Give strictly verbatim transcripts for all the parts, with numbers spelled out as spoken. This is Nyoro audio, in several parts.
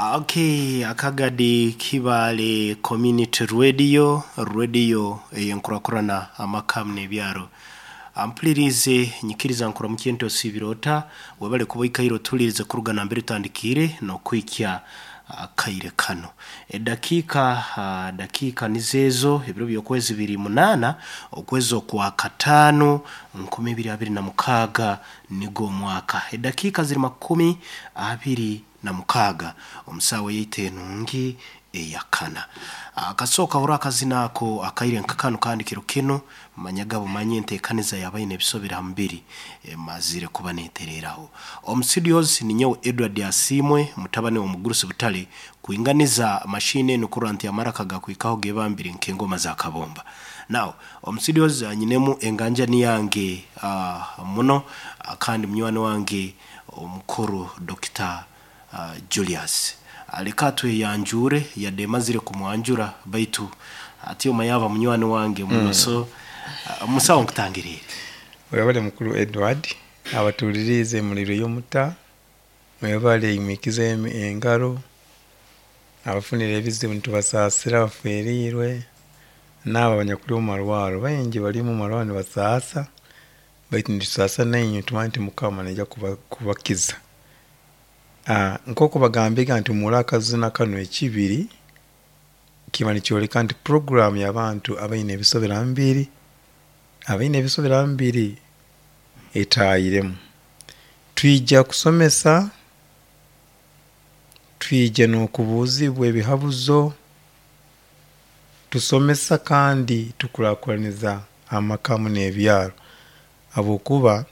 Okay, akagadi Kibale Community Radio, radio eyenkurakurana amakamu n'ebyaro. Ampulirize nyikiriza nkuramukiye nti osiibire ota, webale kuba oikaire otuhulirize kuruga nambere tutandikiire n'okuhikya akaire kano. Edakiika uh, dakiika nizeezo ebiro by'okwezi biri munaana okwezi okwa kataano nkumi ibiri abiri na mukaaga nigwo omwaka. Edakiika ziri makumi abiri na mukaaga omusaawa yaitu enungi eyakana. Akasooka hura akazina ako akaire nka kanu, kandi kiro kinu manyaga bumanye enteekaniza y'abaine ebisobere ha mubiri emazire kuba neetereraho. Omu studios ninyowe Edward Asiimwe, mutabani w'omugurusi Butale, kwinganiza mashini enu kurora nti amaraka gakwikaho gebambire nk'engoma za kabomba. Now omu studios nyinemu enganjani yange uh, muno uh, kandi munywani wange omukuru Doctor uh, Julius. Aleka tweyanjure, yadde mazire kumwanjura, baitu ati omayaba munywani wange muno mm. So uh, musawo, nkutangiriire. Webale, mukulu Edward. Abatuulirize muliro y'omuta, mwebale imwikize engaro. Abafunire ebizibu nitubasaasira, abaferiirwe n'abo abanyakuli omu marwaro, baingi bali mu marwaro nibasaasa, baitu nitusaasa nainywe, tumanye nti Mukama naija kubakiza. uh, nk'oku bagambega nti muri akazina kano ekibiri kiba nikyoleka nti program y'abantu abaine ebisobera mbiri abaine ebisobera mbiri etaayiremu. Twija kusomesa, twija n'okubuuzibwa ebihabuzo, tusomesa kandi tukurakuraniza amaka n'ebyaro, habwokuba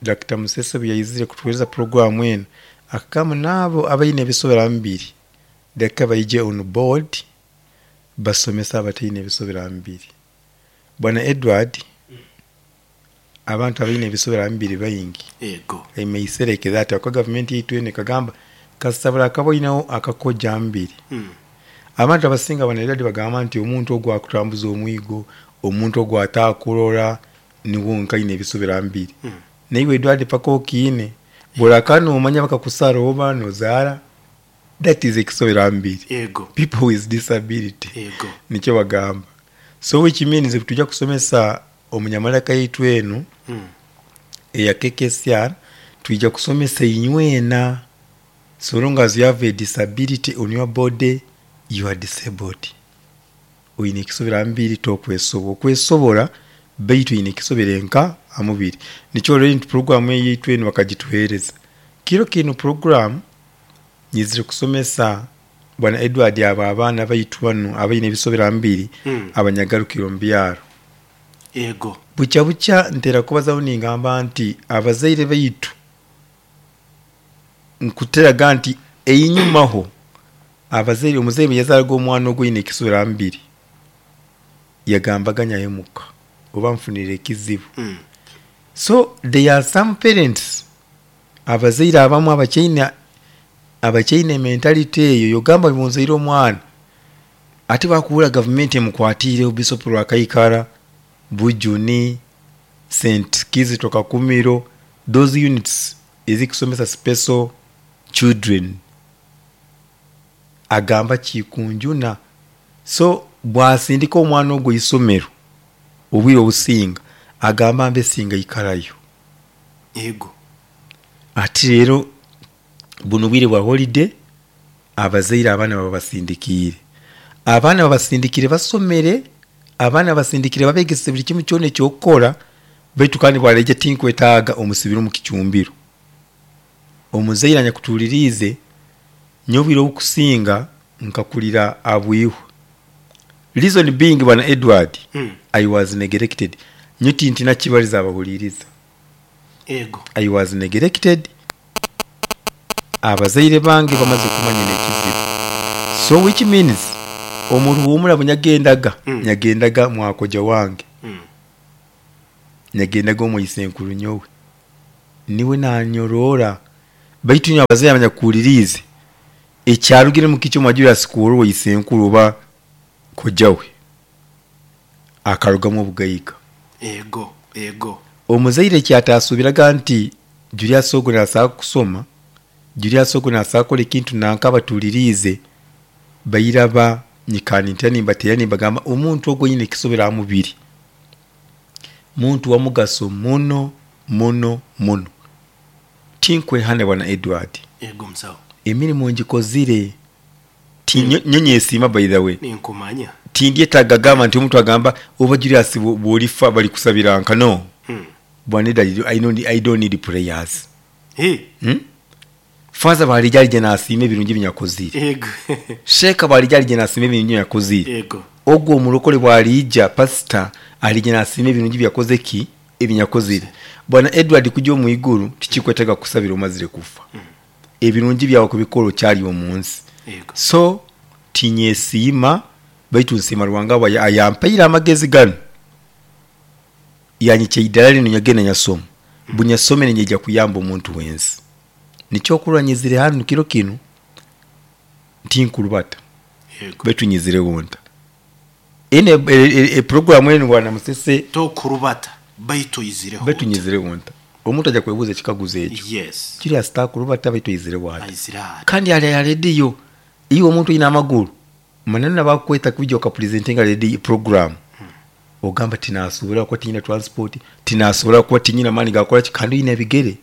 Doctor Musese obu yaizire kutuheereza program enu, akagamba n'abo abaine ebisobera mbiri leka baije on board basomesa abataine ebisobera mbiri. Bwana Edward, abantu abaine ebisobera mbiri baingi. Ego. Emeisereke that akuba gavumenti yaitu enu ekagamba kasita akaba oineho akakoja mbiri. mm. Abantu abasinga, bwana Edward, bagamba nti omuntu ogu akutambuza omwigo, omuntu ogu atakurora, niwo nkaine ebisobera mbiri. Mm. Naiwe Edward, paka okiine buraka nomanya bakakusara oba nozaara, that is ekisobera mbiri. Ego. People with disability. Ego. Nikyo bagamba. So which means tujja kusomesa omunyamalaka yaitu enu mm. eya K K C R, twija kusomesa inywena. So long as you have a disability on your body, you are disabled, oine ekisobera mbiri, tokwesobola okwesobora, baitu oine ekisobera enka amubiri. Nikyo rero nti program eyaitu enu bakagituheereza kiro kinu. Program nyizire kusomesa, bwana Edward, abo abaana baitu banu abaine ebisobera mbiri Mm. abanyagarukiro omu byaro. Ego. Bukya bukya ntera kubazaho ningamba nti abazaire baitu, nkuteraga nti einyumaho abazaire, omuzaire bwe yazaaraga omwana ogwo oine ekisobera mbiri, yagambaga nyahemuka oba nfunire ekizibu. mm. So there are some parents, abazaire abamu abakyaine abakyaine mentality eyo yogamba bunzaire omwana ate bakuwura gavumenti emukwatiire Bishop Rwakaikara, Bujuni, Saint Kizito Kakumiro, those units ezikusomesa special children, agamba kikunjuna. So bwasindika omwana ogwo isomero, obwire obusinga agamba mbe singa ikarayo. Ego. Ati rero buno bwire bwa holiday, abazaire abaana babasindikiire abaana babasindikire basomere, abaana basindikire babegese buli kimu kyona ekyokukora, baitu kandi bwaleija tinkwetaaga omusibire omu kicumbiro. Omuzaire anyakutuuliriize, nyowe obwire obukusinga nkakulira abwihwa, reason being, bwana Edward, mm. I was neglected. Nyo tintina kibaliza abahuliriza. Ego. I was neglected. Abazaire bange bamaze kumanya n'ekizibu, so which means omuruhumura bwe nyagendaga Mm. nyagendaga mwakoja wange, mm. nyagendaga omwisenkuru nyowe, niwe nanyorora. Baitu nyowe abazaire abanyakuhuliriize, ekyarugire mu kikyo mwa Julius kuworwa isenkuru oba kojawe, akarugamu obugaiga. Ego ego. Omuzaire ekyatasuubiraga nti Julius ogu nasobola kusoma, Julius ogu nasakola ekintu nanka abatuliriize bairaba nyikani ntya nimbateera nimbagamba omuntu ogwo oyine ekisobera aha mubiri muntu wa mugaso muno muno muno. Tinkwehana bwana Edward, Ego musawo. Emirimu ngikozire. Ti- nyo nyo nyesiima, by the way. Ninkumanya. Tindyetaaga gamba nti omuntu agamba oba Julius bwo- bw'olifa balikusabira nka no. Mm. Bwana Edward, I don't, I don't need prayers. Hey. Hmm? Faza balijja alije nasiima ebirungi binyakozire. Ego. Sheeka balijja alije nasiima ebirungi binyakozire. Ego. Ogwo omulokole bw'alijja, pasita alije nasiima ebirungi byakoze ki ebinyakozire. Bwana Edward, kujja omu iguru tikikwetaaga kusabira omazire kufa. Ebirungi byawe kubikola okyali omu nsi. Ego. So tinyesiima, baitu nsiima Ruhanga bwa ayampaire amagezi gano, yanyikya iddala lino nyagenda nyasoma bunyasomere nyejja kuyamba omuntu wensi. Nikyokurora nyizire hanu kiro kinu ntinkurubata. Ego. Baitu nyizireho nta ene e, e, programu eno, bwana Musese. Tokurubata baitu oyizireho. Baitu nyizireho nta, omuntu ajja kwebuuza ekikaguzo ekyo. Yes. Kiri asitakurubata baitu oyizireho ata? Ayizire ata? Kandi ali ya rediyo, iwe omuntu oyina amaguru maneno nabakweta kwijja okapresentinga radio program, ogamba tinasobola kuba tinyina transport, tinasobola kuba tinyina maani gakola ki, kandi oyina ebigere.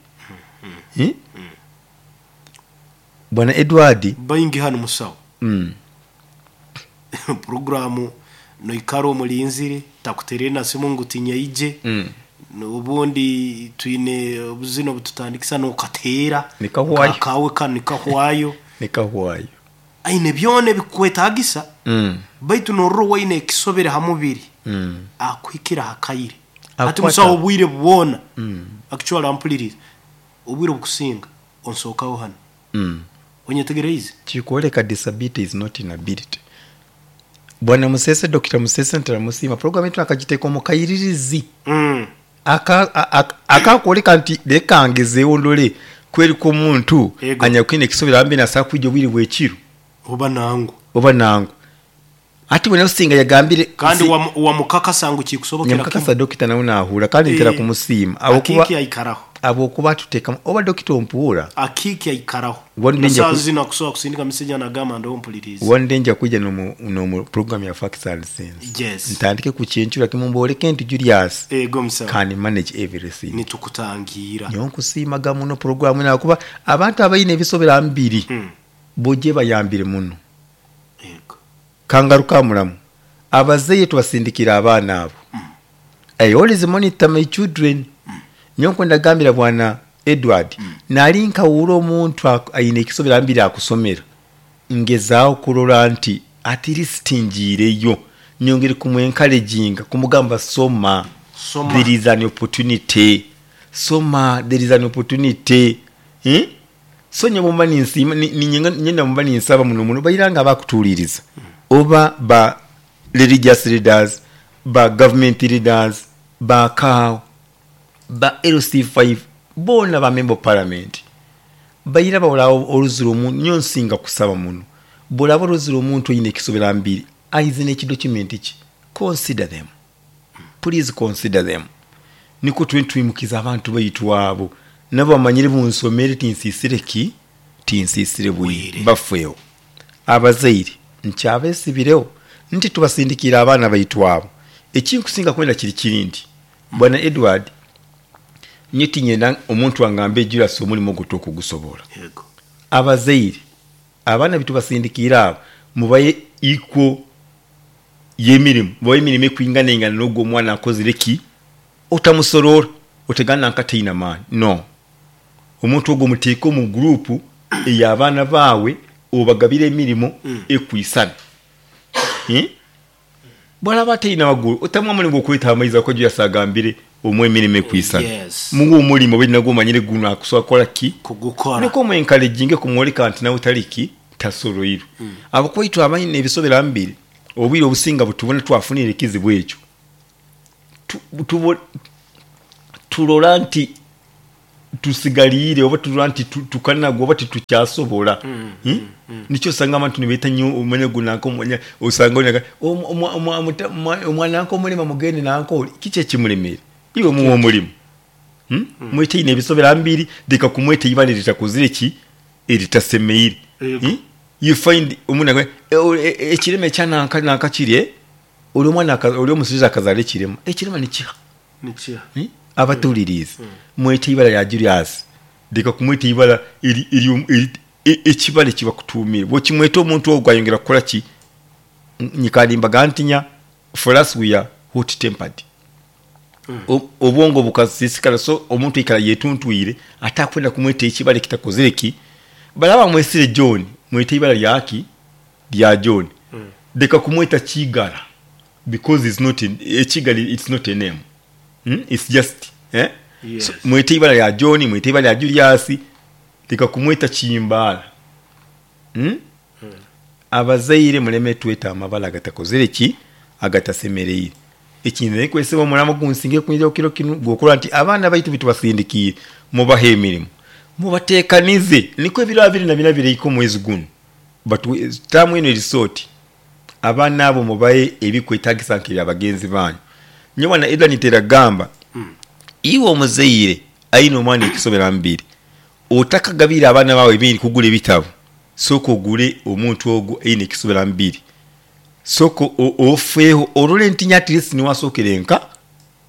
Eh? Bwana Edward. Baingi hano musawo. mm. Programu noikara omulinzire takuterere na simu ngu tinyaije. Mm. Ubundi twine obuzina obututandikisa nokateera. Nikahwayo. Kawe kano nikahwayo. Nikahwayo. Aine byona ebikwetagisa, mm. baitu norora waine ekisobere ha mubiri, mm. akuhikira hakaire Akwata. Ati musawo, obwire bwona, mm. actually ampuliriza, obwire obukusinga onsookaho hano. mm. Onyetegereize? Kikwoleka disability is not inability. Bwana Musese, Doctor Musese, ntaramusiima program yetu akagiteeka omu kayiririzi. mm. Akakwoleka nti leka ngezeewo ndole kwerika omuntu Ego. anyakwine ekisobera ambi nasobola kwija obwire bwekiro. Oba nangu. Oba nangu ati bwe singa yagambire. Kandi si- wamu- wamukakasa ngu kikusobokera. Nyamukakasa, dokita nawe nahura kandi ntera Eh. kumusiima awokuba Akiki aikaraho. Abokuba atuteekamu oba dokita ompuura. Akiki aikaraho. One day nasaa nja ku- zino akusobola kusindika message anagamba ndo mpuliriza. One day nja kwijja nomu nomu program ya Facts and Sense. Yes. Ntandike kucyencura kimumbooleke nti Julius Ego musawo. can manage everything. Nitukutangira. Nyo nkusiimaga muno programu eno kuba abantu abalina ebisobera mbiri Mm. bojje bayambire muno. Ego. Kangaruka mulamu abazeeyi tubasindikira abaana abo. I always monitor my children. Nyo nkwenda gambira bwana Edward, nali nkawuula omuntu ak- ayina ekisobera mbiri akusomera, ngezaawo kulola nti at least njiireyo nyongere kumwencouraginga kumugamba soma. Soma. There is an opportunity, soma, there is an opportunity, eh? So nye bwomba ninsiima ni- ni- nyenda mumba ninsaba muno muno bayira nga bakutuuliriza oba ba religious leaders, ba government leaders, ba C A O, ba L C five bona, ba member of parliament, bayira bawolawo oluzira omuntu. Nyo nsinga kusaba muno bwolaba oluzira omuntu oyina ekisobera mbiri aize n'ekidocument ki, consider them, please consider them, niko twe twimukiza abantu baitu abo nabo bamanyire bunsomere tinsisire ki tinsisire bwire. Bwire. Bafeewo abazaire nkyabesibirewo nti tubasindikira abaana baitu abo. Ekinkusinga kwenda kiri kiri nti bwana Edward, nye tinyenda omuntu angambe Julius omulimu ogwo tokugusobola. Ego. Abazaire abaana bitubasindikira abo mubaye iko y'emirimu, mubaye emirimu ekwinganaingana n'ogwo omwana akozire ki, otamusorora otegana nkataina maani no omuntu ogwo muteeke omu gurupu ey'abaana baawe obagabire emirimu ekwisana. Eh? Bwalaba ataina magulu otamuwa mulimu gwokweta amaizi ako Julius agambire omu emirimu ekwisana. Yes. Muwe omulimu oba nagwo omanyire guno akusobola kukola ki. Kugukora. Niko omwencouraginge kumwoleka nti nawe taliki tasoloirwe. mm. Abakwaitu abalina ebisobera mbiri obwire obusinga butubona twafunire ekizibu ekyo. Tu- tubo- tulola nti tusigaliire oba tulola nti tu- tukanagwa oba tetukyasobola. Hmm? Nikyo osanga abantu nibeeta nnyo omanya gunanka omanya osanga onaga, "Omu- omwa- omwa- muta- omwa- omwana nanka omulema mugende nanka oli kiki ekimulemere iwe muwa omulimu." Hmm? Mwete ine ebisobera mbiri leka kumweta ibale litakozire ki. eritasemeire. Yego. Hmm? You find omuntu agamba, "E, o- e- e- ekirema ekyananka nanka kiri eh?" Oli omwana aka- oli omusiriza akazaala ekirema, ekirema nikiha. Nikiha. Hmm? Abatulirize, mwete ibara lya Julius, leka kumweta ibara eri- eri- eri- e- ekibala ekibakutumire bwokimweta omuntu ogwo ayongera kukola ki? Nyikalimbaga ntinya, for us we are hot tempered. O- obwongo bukasisikala, so omuntu ikala yetuntwire ate akwenda kumweta ekibala ekitakozere ki. Balaba mwesire John, mwete ibara lyaki lya John. Leka kumweta Kigala because it's not a- ekigali, it's not a name. Hmm? It's just eh? Yes. So, mwete ibara lya John, mwete ibara lya Julius, leka kumweta Kimbala. Hmm? Abazaire muleme tweta amabala agatakozere ki, agatasemereire. Ekintu nekweseba omulamo gunsinge kunyira kiro kinu gwokola nti abaana baitu bitubasindikiire, mubahe emirimu, mubateekanize niko ebiro abiri na bina bireiko omwezi guno taamu eno erisooti. Abaana abo mubahe ebikwetagisa nkebya bagenzi banyu. Nyowe eda niteragamba iwe omuzaire ayina omwana ekisobera mbiri, otakagabira abaana bawe ebindi kugula ebitabo, sooka ogule omuntu ogwo ayina ekisobera mbiri, sooka o- ofeeho olole ntinya at least niwasookera enka,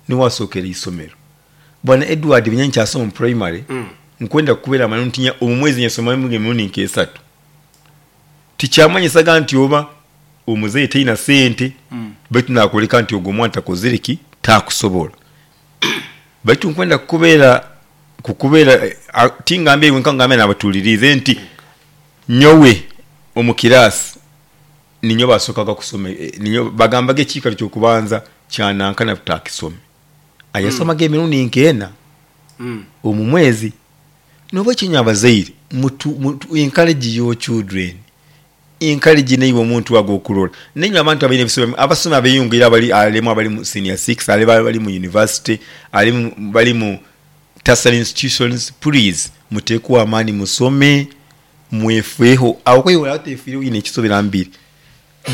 niwasookera isomero. Bwana Edward, binya nkyasoma mu primary, nkwenda kubeera manu ntinya omu mwezi nyasomamu emirundi nk'esatu. Tikyamanyisaga nti oba omuzeeyi talina sente, baitu nakuleka nti ogwo omwana takozere ki, takusobola. Baitu nkwenda kukubeera kukubeera eh, a- tingambe iwe nka, ngambe nabatulirize nti nyowe omu kirasi ninyo basookaga kusoma, eh, ninyo bagambaga ekiikaro kyokubanza kyanankana tutakisome, ayasomaga emirundi nkeena Mm. omu mwezi. Noba ekinywa abazaire mutu, mutu encourage your children, encourage neiwe omuntu ago okulola nenywe abantu abalina ebisome, abasoma abeyongera abali alemu abali mu senior six, ale bali mu university, ali mu- bali mu tertiary institutions, please muteekuwa amaani, musome, mwefeeho. Awo kwewola atefiire oyina ekisobera mbiri,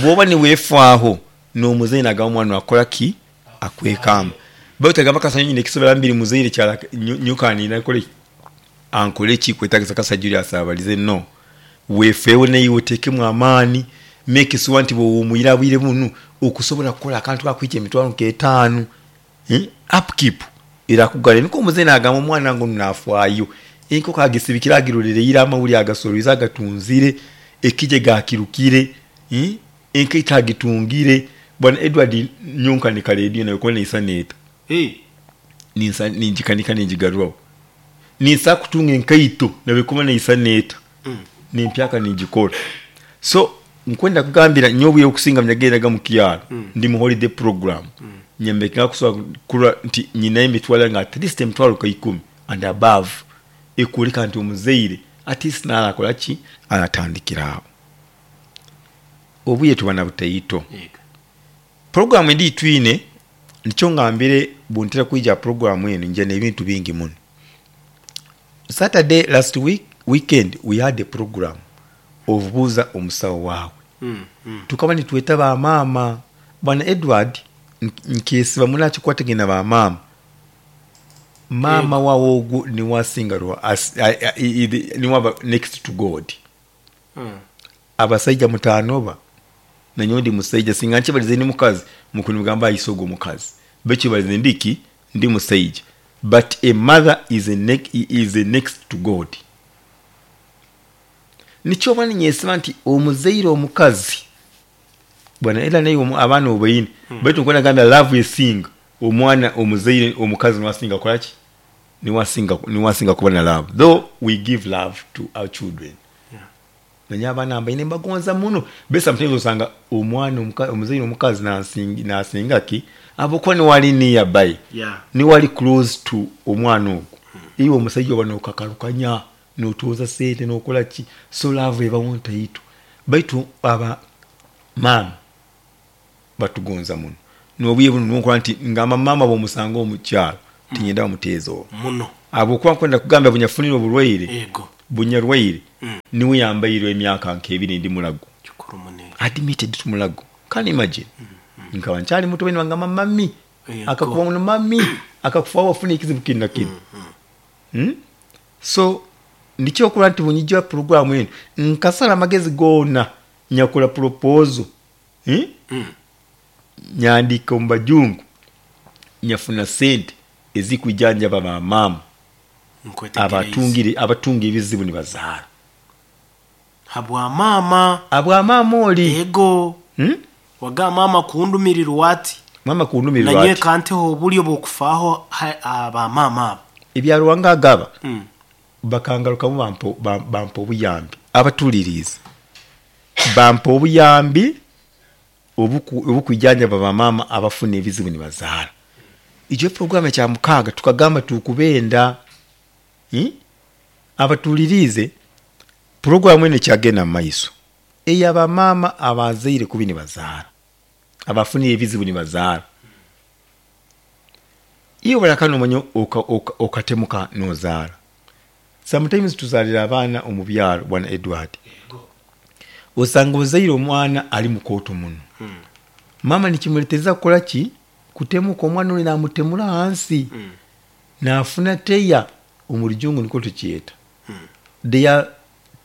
bwoba niweefaaho n'omuzaire nagamba omwana akola ki, akwekamba. Baitu agamba kasanya nyina ekisobera mbiri, muzaire kyala nyukanira akole ankole ki kwetagisa kasa Julius abalize no weefeewo neiwe oteekemu amaani, make sure nti bwowumwira bwire bunu okusobola kukola akantu kakwija emitwalo nk'etaano. Eh, upkeep erakugala niko omuzaire nagamba omwana ngo nafaayo, enkoko agisibikira, agirolereire, amawuli agasolwize, agatunzire, ekije gakirukire, eh, enkaito agitungire. Bwana Edward, nyonkanika rediyo nayo kuba neisa neeta. Hey. Ninsa ninjikanika ninjigaruraho, ninsa kutunga enkaito nabikuba neisa neeta nimpyaka ninjikora. So nkwenda kugambira nyowe okusinga mnyagendaga mu kyalo, ndi mu holiday program, nyembeka kusobola kula nti nyina emitwalo nga at least emitwalo ka ikumi and above, ekuleka nti omuzaire at least nalakola ki, alatandikira awo. Obuye tuba na butaito. Yego. Programu endi twine nikyo ngambire buntera kwija programu eno nje n'ebintu bingi muno. Saturday last week weekend we had a program of buuza omusawo waawe. Mm. Mm. Tukaba nitweta bamaama. Bwana Edward, nkesiba munakikwatagana bamaama, maama wawe ogwo niwasinga rwa- as- a- a- i- i- niwaba next to God. Mm. Abasajja mutanoba nanyowe ndi musaija, singa nkibalize ndi mukazi mukuni mugamba ayise ogwo mukazi, bekibalize ndiki ndi musaija, but a mother is a, ne is a next to God. Nikyoba ninyesiba nti omuzaire omukazi bwana era naye omu- abaana obaine hmm. Baitu nkwenda gambira love esinga omwana omuzaire omukazi niwasinga kolaki, niwasinga niwasinga kuba na love, though we give love to our children. Yeah. Nanye abaana mbaine mbagonza muno be sometimes osanga omwana omuka- omuzaire omukazi nasinga nasinga ki abokuba niwali nearby, Yeah. niwali close to omwana ogwo. Iwe omusajja oba nokakalukanya notuuza sente nokola ki, so love ebawo ntaito. Baitu aba maama batugonza muno nobuye buno nonkola nti ngamba maama bwomusanga omukyalo tinyenda bamuteeza olwo Muno. abo okuba nkwenda kugamba bunyafunire obulwaire, Yego. bunyarwaire, Mm. niwe yambairwe emyaka nk'ebiri ndi mulago, Kikuru munene. admitted to mulago, can you imagine? Nkaba nkyali muto, bene bangamba mami Yego. akakuba muno mami akakufa wafuna ekizibu kino na kino. Hmm? So Nikyo nti bunyijja programu eno nkasala amagezi goona nyakola proposal hmm? Mm. Nyandika omu bajungu, nyafuna sente ezikwijanjaba bamaama Nkwetegereze. Abatungire abatunga ebizibu nibazaara. Habwa maama. Abwamaama oli. Ego. Hmm? Waga maama kundumirirwa ati mama kundumirirwa nanye ati kanteho obulyo bwokufaaho ha- abamaama abo. Ebyaruwanga agaba Mm. bakangarukamu bampa bam- bampa obuyambi, abatuliriza bampa obuyambi obuku- obukwijanjaba bamaama abafuna ebizibu nibazaara. Ekyo programu ekya mukaaga tukagamba tukubenda. Hmm? Abatulirize, programu eno ekyagenda mu maiso eyabamaama abazaire kubi nibazaara, abafuna ebizibu nibazaara. Iyo balakana omanya okatemuka nozaara. Sometimes tuzaalira abaana omu byaro, bwana Edward, osanga ozaire omwana ali mukooto muno. Mm. Mama nikimuletereza kukola ki? Kutemuka. Omwana oli namutemura hansi, Mm. nafuna tear omu rujungu nikwo tukyeta. Mm. There are,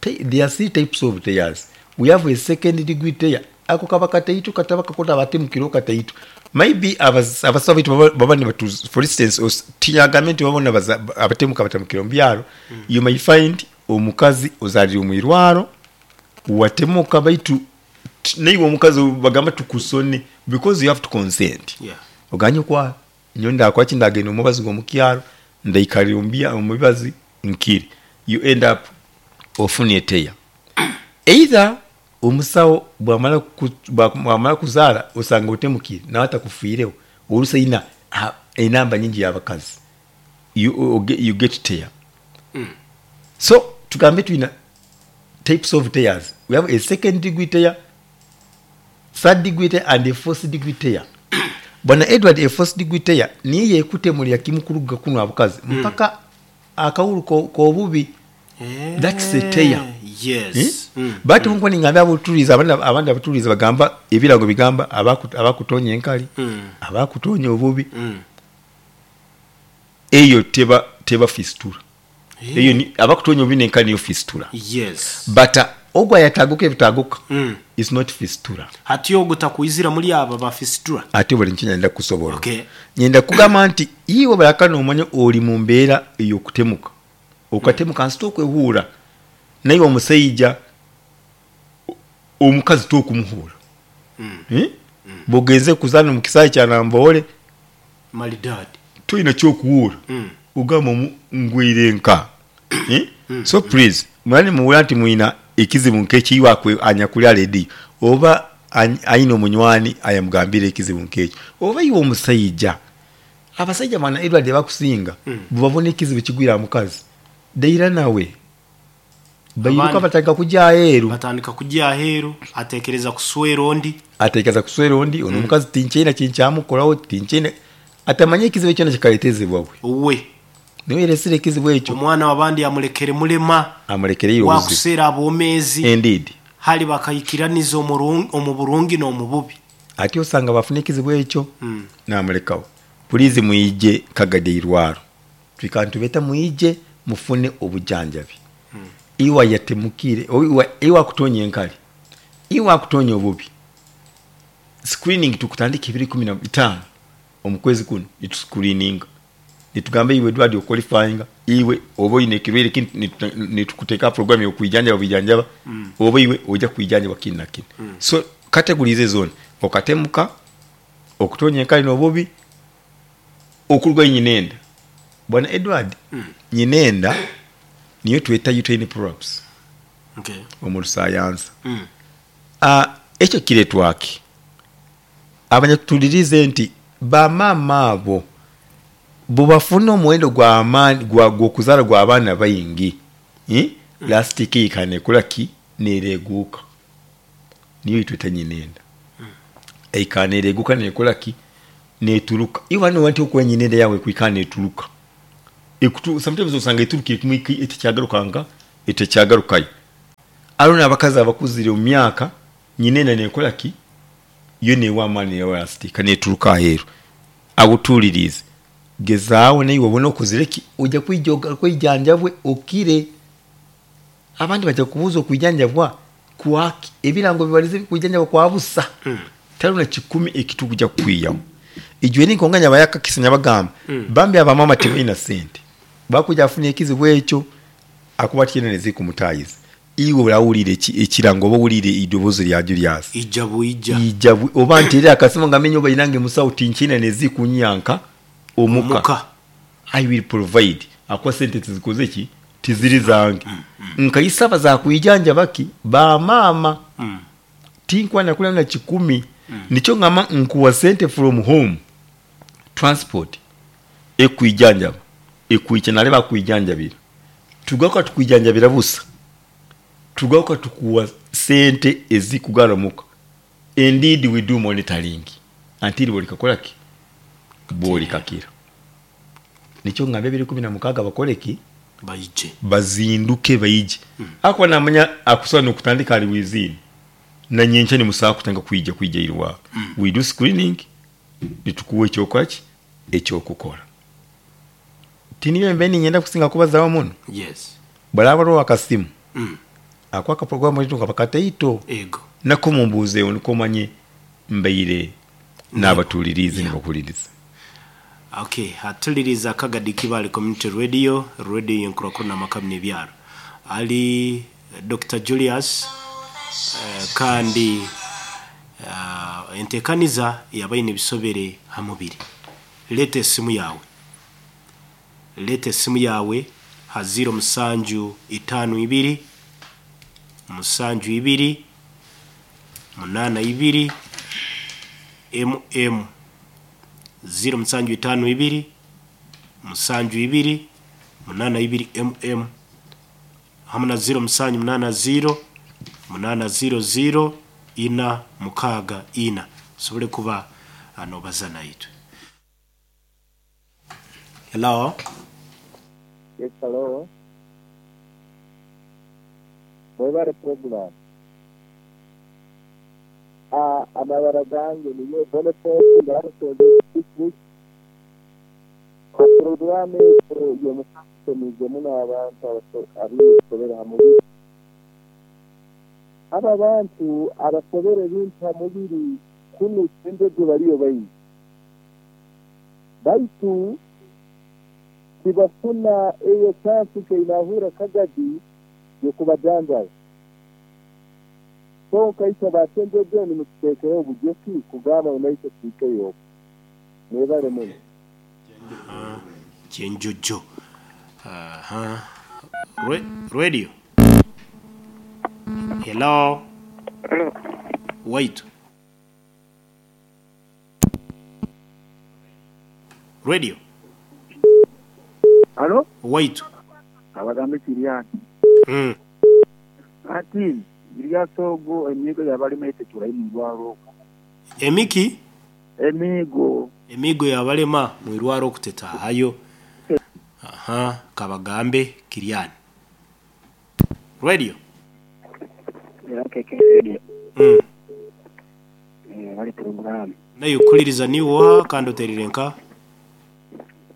there are three types of tears. We have a second degree tear, ako kaba kataito, kataba kakota abatemukiro kataito. Maybe abas- abasawo baitu baba- baba nibatu, for instance, os- tinyagambe nti babona baza- abatemuka batamukira mu byaro. You may find omukazi ozalire omu irwaro watemuka, baitu t- naiwe omukazi bagamba tukusone because you have to consent. Yeah. Oganye kwa nyo ndakwaki, ndagenda omubazi gwomukyaro, ndaikalira omubya omubibazi nkiri. You end up ofuna tear. Either omusawo bwamala ku- bwa- bwamala kuzaala osanga otemukire nawe atakufiireho, oluusi ayina ah, enamba nyingi y'abakazi, you, you get tear. Mm. So tugambe tulina types of tears. We have a second degree tear, third degree tear and a fourth degree tear. Bwana Edward, a fourth degree tear niye yekutemulira kimu kuluga kuno abukazi mpaka akawulu ko- kobubi. Eh, That's a tear. Yes. Eh? Mm. But nkuba ningambye abutuliza, abandi abandi abutuliza bagamba ebirango bigamba abaku- abakutonya enkali, Mm. abakutonya obubi. Mm. Eyo teba teba fistula. Eh. Eyo ni abakutonya obubi nenkali niyo fistula. Yes. But uh, ogwa yataguka ebitaguka Mm. is not fistula. Hati ogwo takwizira muri aba ba fistula. Ate buli nkyo nyenda kusobola. Okay. Nyenda kugamba nti iwe balakana omanya oli mu mbeera ey'okutemuka, okatemuka nsi tokwehuura, naye omusajja omukazi tokumuhuura. Mm. Eh? Bw'ogenze kuzaana mu kisaawe kya Namboole, Malidadi. Tolina kyokuwuura. Mm. Ogamba omu ngwire nka. Eh? So please, mwani muwula nti mwina ekizibu nkekiyiwa anyakuli aledi oba any- ayina omunywani ayamugambira ekizibu nkekyo, oba iwe omusajja, abasajja bwana Edward bakusinga Mm. bwebabona ekizibu kigwira mukazi daira nawe bairuka, Abandi- batandika kujja aheeru. Batandika kujja aheeru, atekereza kuswera ondi. Atekereza kuswera ondi. Ono omukazi tinkyena kinkyamukoraho, tinkyena atamanye ekizibu ekyona kikaletezebwa bwe. Uwe. Niwe yeresire ekizibu ekyo. Omwana wabandi amulekere mulema. Amulekereire obuzibu. Wakuseera abomeezi. Indeed. Hali bakayikiraniza omurungi- omu burungi n'omu bubi. Ate osanga bafuna ekizibu ekyo, Mm. namulekawo. Pulizi mwije Kagadi irwaro, twikantubeta mwije mufune obujanjabi. Iwa yatemukire o- iwa, iwa akutonya enkali, iwa akutonya obubi, screening tukutandika ebiri kumi na bitaano omukwezi kuno nituscreeninga, nitugamba iwe Edward oqualifyinga, iwe oba oyina ekirwaire kini, nitu- nitukuteeka program yokwijanjaba bwijanjaba, oba iwe ojja kwijanjaba kini na kini. So categories ezona: okatemuka, okutonya enkali n'obubi, okurwa nyinenda. Bwana Edward, nyinenda niyo tweta uterine prolapse Okay. omu lusayansa. Mm. uh, ekyo kiretwaki? Abanyatulirize nti bamaama abo bwebafuna omuwendo gw'amaanyi gwa- gw'okuzaala gw'abaana baingi, eh? Lastic eikana ki nereguuka, niyo itweta nyinenda, eikana nereguuka nekola ki neturuka. Iwe wano nti okuba nyinenda yawe kwikana neturuka. Ekutu sometimes osanga eturukire kumwe etekyagaruka etekyagarukayo. Aliwo n'abakazi abakuzire mu myaka, nyinenda nekola ki yo newa amaani newa lastika neturuka aheeru. Agutuulirize, gezaawo naye wabona okozire ki ojja kwijoga kwijanjabwe okire. Abandi bajja kubuuza okwijanjabwa kwaki, ebirango bibalize kwijanjabwa kwa busa. Mm. Taliwo na kikumi ekitukuja kukwiyamu. Ijo eri nkonga nyabayakakisa nyabagamba Mm. bambi abamama tebalina sente bakuja afuna ekizibu ekyo akuba tyena nezikumutayiza iwe olawulire ekirango oba owulire eddoboozi lya Julius Ijja bwijja. Ijja bwi- oba nterera akasimu nga menye oba inange musawo tinkyina nezikunyanka omuka. Omuka. I will provide akuwa sente tizikoze ki tiziri zange nkayisaba zakwijanja baki bamaama Mm. tinkwana kula na kikumi nikyo ngamba nkuwa sente from home transport ekwijanjaba ekwica nale bakwijanjabira tugaruka tukwijanjabira busa tugaruka tukuwa sente ezikugaramuka. Indeed we do monitoring until bolikakolaki bolikakira nikyo ngamba ebiri kumi na mukaaga bakoleki Baije. Bazinduke baije mm. Akuba namanya akusobola nokutandika ali wizini nanyenkya nimusaaba kutandika kwija kwija irwa mm. We do screening nitukuwa ekyokolaki ekyokukora tiniyo mbe ninyenda kusinga kubazaho muno. Yes. Balaba lwa akasimu Mm. ako akaprogramu litu nkabakateito Ego. nako mumbuuzeewo niko manye mbaire n'abatuulirize Yeah. nibakuliriza. Okay, atuliriza Kagadi Kibale Community Radio, radio yenkurakuru n'amakamu n'ebyaro. Ali Doctor Julius eh, kandi uh, entekaniza yabaine ebisobere ha mubiri. Leeta esimu yawe. Leeta esimu yawe ha ziro musanju itaano ibiri musanju ibiri munaana ibiri M M ziro musanju itaano ibiri musanju ibiri munaana ibiri M M hamwe na ziro musanju munaana ziro munaana ziro ziro ina mukaaga ina sobole kuba nobaza naitwe. Hello. Yes, hello. Mwebale program. Ah, amabara gange niyo Boniface ngarutonde district. Programu yomukasomize muno abantu abisobera ha mubiri. Aba bantu abasobera ebintu ha mubiri kunu sente bariyo baingi. Baitu tibafuna eyo chance keinahura Kagadi yokubajanjaba. So kaisa basenjeje nimututeekereho obugyeki kugamba ngu naitwe tuhikeyo. Mwebale muno. Kyenjojo. Aha. Re radio. Hello. Hello. Wait. Radio. Halo? Wait. Abagambe Kiriani. Mm. Ati Julius ogo emigo yabalema etetula imurwaro okwo. Emiki? Emigo. Emigo yabalema mwirwaro okutetaayo. Aha, kabagambe Kiriani. Radio. Era keke radio. Mm. Eh, bali program. Nayo kuliriza niwo kandi oterire nka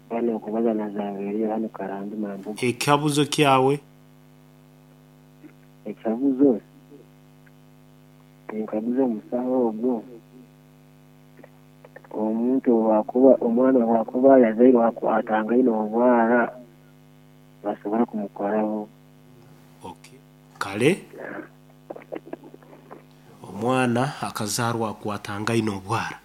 Bano okubaza na Zaveri hano Karambi Mambuga. Ekabuzo kyawe. Ekabuzo. Enkabuzo omusawo ogwo. Omuntu wakuba omwana wakuba yazairwe atangaine obwara basobora kumukoraho. Okay. Kale omwana akazarwa akwatangaine obwara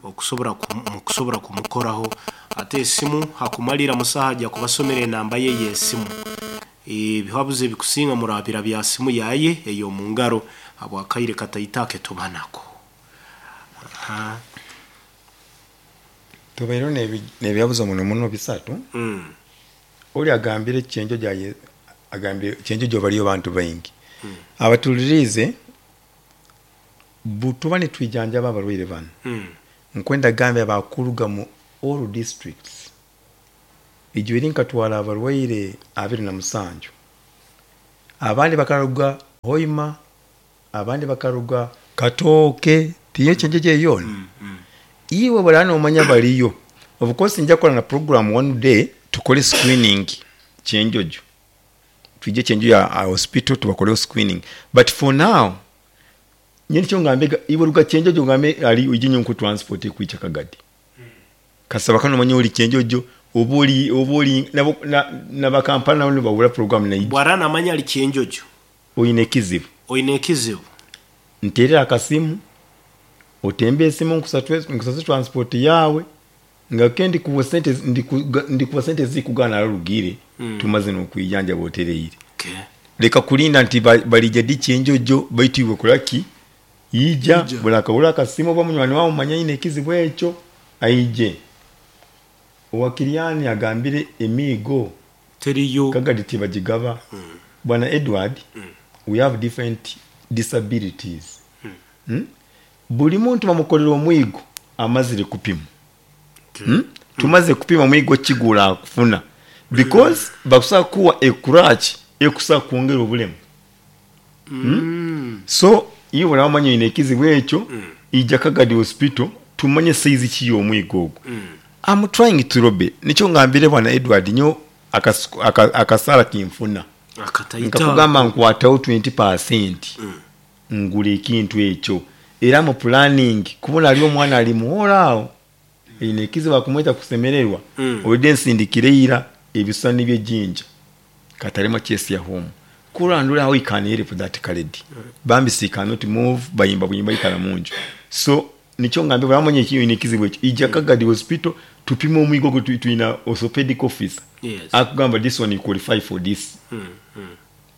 okusobora okusobora kumukoraho ate esimu hakumalira musaha ajja kubasomera enamba ye y'esimu. Ebihabuzo ebikusinga murabira bya simu yaye eyo mu ngaro habwakaire kataitake tubanako. Aha. Tubaire n'ebyabuzo muno muno bisatu. Mm. Oli agambire kyenjo gyaye agambire kyenjo gyo baliyo bantu baingi. Mm. Abatulirize butuba nitwijanjaba abalwaire bano. Mm. Nkwenda gambe abakuluga mu all districts. Ijo eri nkatwala abalwaire abiri na musanju. Abandi bakaruga Hoima, abandi bakaruga Katooke, tiyo kyenjo gyeyona. Mm, mm. Iwe balana omanya baliyo. Of course nja kola na program one day tukole screening kyenjojo. Twije Kyenjojo ya hospital tubakoleho screening. But for now nyeni ngambega iwe ruga Kyenjojo ngambe ali ujinyo nku transport kuicha Kagadi. Kasaba kano manye oli Kyenjojo oboli oboli nabo na bakampala nabo bawula program na bwarana amanya ali Kyenjojo oyine kizibu oyine kizibu nterera akasimu otembe esimu nkusatwe nkusatwe transport yawe nga kendi kuwa sente ndi kuwa sente zikugana rugire mm. tumaze no kuyanja botereire. Okay. Leka kulinda nti balije di Kyenjojo baitiwe kulaki ija bulaka bulaka simu ba munywani wawo manya ine kizibu ekyo aije owakiriani agambire emigo teriyo Kagadi tibajigaba. mm. Bwana Edward, mm. we have different disabilities. mm. Hmm? Buli muntu bamukolera omwigo amazire kupima. Okay. Hmm? Tumaze kupima mwigo kigula kufuna because mm. bakusa kuwa ekurachi ekusa kuongera obulemu. Mm. Hmm? So iyo bwana ine kizibu ekyo mm. ija Kagadi hospital tumanye size ki omwigo ogwo. Mm. I'm trying to robe nicho ngambire bwana Edward nyo akasala kinfuna nkakugamba nkwatawo twenty percent mm. ngule ekintu ekyo era mu planning kubona ali omwana ali muwola awo ine kizibu kumweta kusemererwa mm. olide nsindikireira ebisani by'ejjinja katalema chesi ya home kurandula awo ikanere for that kaledi mm. bambi si cannot move bayimba buyimba ikala munju so nicho ngambe bamonye kiyo ine kizibu ekyo ija mm. Kagadi hospital tupime omwigo gwe tuina orthopedic officer. Yes. Akugamba this one you qualify for this. Mm. Mm.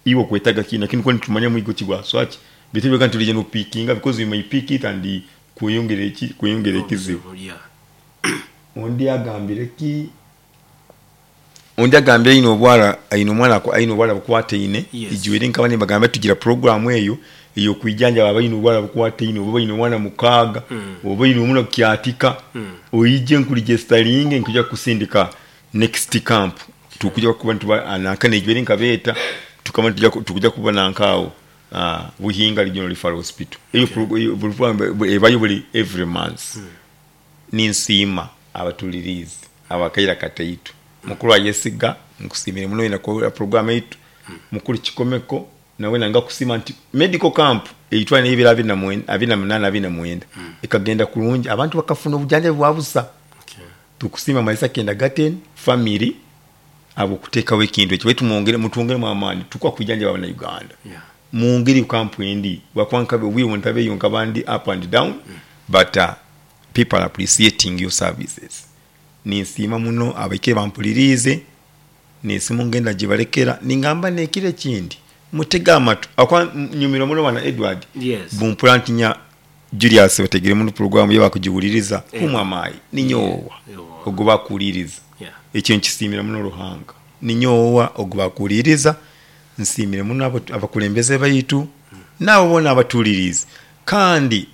Iwo kwetaga kina lakini kwani tumanya mwigo kigwa swaki bitebe kantu lije no pickinga because you may pick it and kuyongera eki kuyongera ekizibu. Yeah. Ondi agambire ki ondi agambire ino obwala ino mwana ko ino obwala bukwate ine. Yes. Ijiwere nkabane bagamba tugira program eyo iyo kwijanja baba ino obwala bukwate ine oba ino mwana mukaga mm. oba ino mwana kyatika mm. oyije nkulijesterlinge nkuja kusindika next camp tukuja kuba ntuba anakane ijiwere nkabeta tukama tuja tukuja kuba nankao ah Buhinga Regional Referral Hospital eyo Okay. program ebayo buli every month. Mm. Ninsima abatulirizi abakaira kataitu mukuru ayesiga nkusimire muno ina ko program eitu mm. mukuru kikomeko nawe nanga kusima nti medical camp eitwa n'ebira abiri na mwenda abiri na munana abiri na mwenda mm. ekagenda kulungi abantu bakafuna obujanja bwabusa. Okay. Tukusima Malisa Kenda Garden family abo kuteekawo ekintu ekyo wetu mwongere mutwongere mu amaanyi tukwa kujanja bana Uganda. Yeah. Mwongere camp endi wakwanka we want abe yonka bandi up and down mm. but uh, people are appreciating your services. Ninsiima muno abake bampulirize nesimu ngenda gibalekera ningamba nekire kindi mutega amatu akwa nyumira muno bana Edward. Yes. Bumpula ntinya Julius bategere muno program yabakujiwuliriza Yeah. kumwa amayi ninyowa Yeah. ogoba kuliriza. Yeah. Ekyo nkisimira muno Ruhanga ninyowa ogoba kuliriza nsimire muno abakulembeze bayitu mm. nabo bona abatuliriza kandi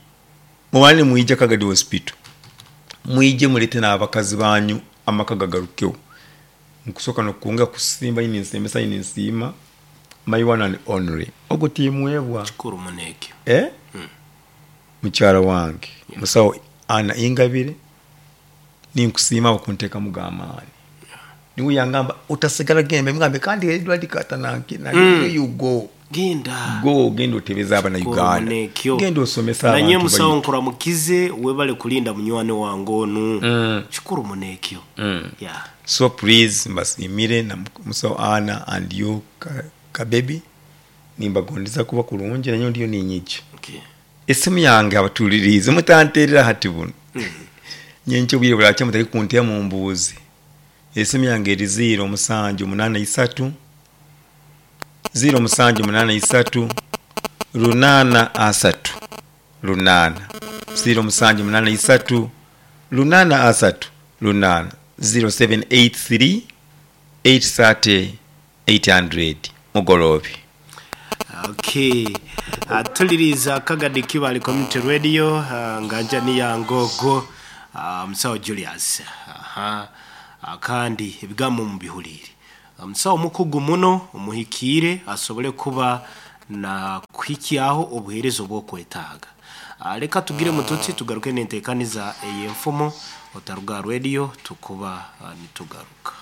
mubane muija Kagadi hospital muije mulete n'abakazi banyu amaka gagarukeho nkusoka nokunga kusimba ini nsembesa ini nsima my one and only ogo timwebwa kikuru muneke eh mm. mukyala wange Yeah. musawo ana ingabire ninkusima okunteka mugamaani Yeah. niwe yangamba utasigala gembe ngambe kandi Edward Katananki na Mm. you go genda go genda otebeza abana Kikuru Uganda munekyo. genda osomesa nanye abantu musawo bayitu. nkuramukize webale kulinda munywani wange onu Mm. kikuru munekyo. Mm. Yeah. So please mbasimire na musawo ana and you ka, ka baby nimbagondeza kuba kulungi nanyo ndiyo ninyije Okay. esimu yange abatulirize mutanterera hati buno Mm. nyenkyo bwire bulakya mutali kuntya mu mbuuzi esimu yange eri ziro musanju munana isatu ziro musanju munana isatu lunana asatu lunana ziro musanju munana isatu lunana asatu lunana zero seven eight three eight thirty eight hundred mugolobi. Okay. Uh, tuliriza Kagadi Kibali Community Radio uh, nganja ni ya ngogo uh, musawo Julius. Aha. Uh, kandi ebigambo mubihulire omusawo uh, mukugu muno omuhikiire asobole kuba na kuhikyaho obuheereza obwokwetaaga. Uh, leka tugire mututsi tugaruke n'enteekaniza ey'enfumo otaruga radio tukuba uh, nitugaruka.